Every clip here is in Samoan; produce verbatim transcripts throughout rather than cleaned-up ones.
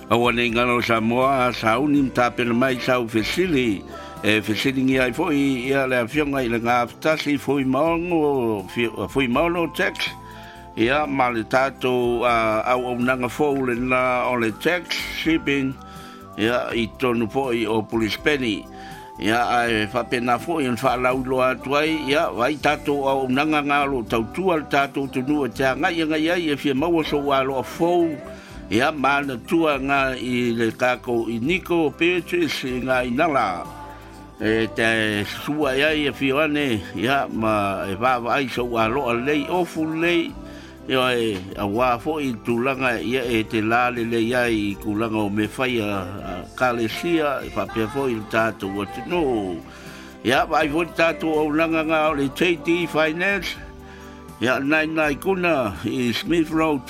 Aua nei galo Samoa sauni ma tapena mai sau fesili e fesiligia ai fo'i ia le Afioga i le Gafatasi Fuimaono Fuimaono Tax ia ma le tatou auaunaga fou lena o le tax shipping ia i totonu fo'i o Pulisepeni. Ia ae faapena fo'i ona faalauiloa atu ai ia vai tatou auaunaga ga o loo tautua le tatou atunuu e te agai agai ai e fia maua sou aloa fou ia manatua ga i le takou i Nico Beatrice i ngā inala e te sua ai e fio ane ia ma e vaavaai sou aloa lelei ofu lelei ia e auā fo'i tulaga ia e te la lelei ai i tulaga o mea faia ekalesia e faapea fo'i le tatou atunuu. Ia vaai foi le tatou auaunaga ga o le J D Finance ia nai nai kuna i Smith Road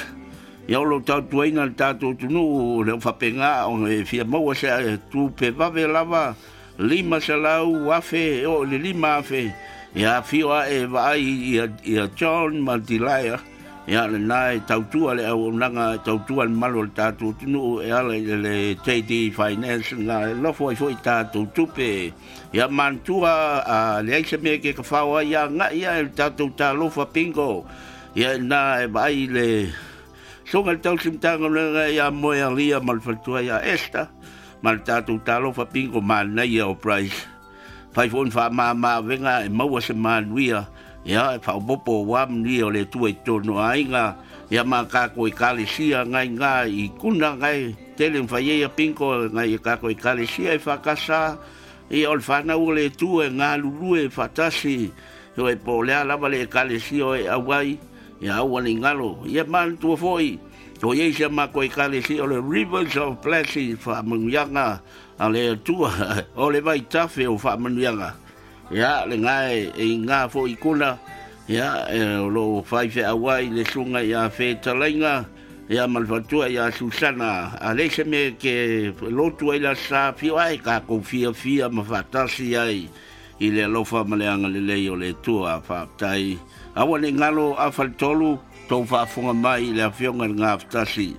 ia o lo tautuaina le tatou atunuu le faapega ona e fia maua se tupe vave lava lima selau afe o le lima afe ia afio ae vaai ia, ia John ma Dilaia ia lena e tautua le auaunaga e tautua le malu o le tatou atunuu e ala i le J D Finance na e lofo ai fo'i tatou tupe. Ia manatua a leai se mea ke kafao ai agai ia e le tatou Talofa Bingo ia na e vaai le susuga le tausi Matagaluega ia Moe Alia ma le faletua ia Esther ma le tatou Talofa Bingo manaia o Price fai fo'i faamama avega e maua se manuia ia e faaopoopo ua manuia o le Atua i totonu o aiga ia ma tatou ekalesia ngai ngā i kuna ngai tele fai ai bingo ngai e tatou ekalesia e whakasa ia o le whanau o le Atua e galulue faatasi o e po o lea lava le ekalesia o e auai ia aua le galo ia manatua fo'i o iai sia makou ekalesia o le Rivers of Blessing faamanuiaga a le Atua o le vaitafe o faamanuiaga ia le gae e iga fo'i kuna ia e o loo faifeau ai le susuga ia Fetalaiga ia ma le faletua ia Susana a leai se mea ke lotu ai le sa fio ai takou fiafia ma faatasi ai i le alofa ma le agalelei o le Atua. Faafetai. Aua ne i galo afa le tolu tou faafofoga mai i le Afioga i le Gafatasi.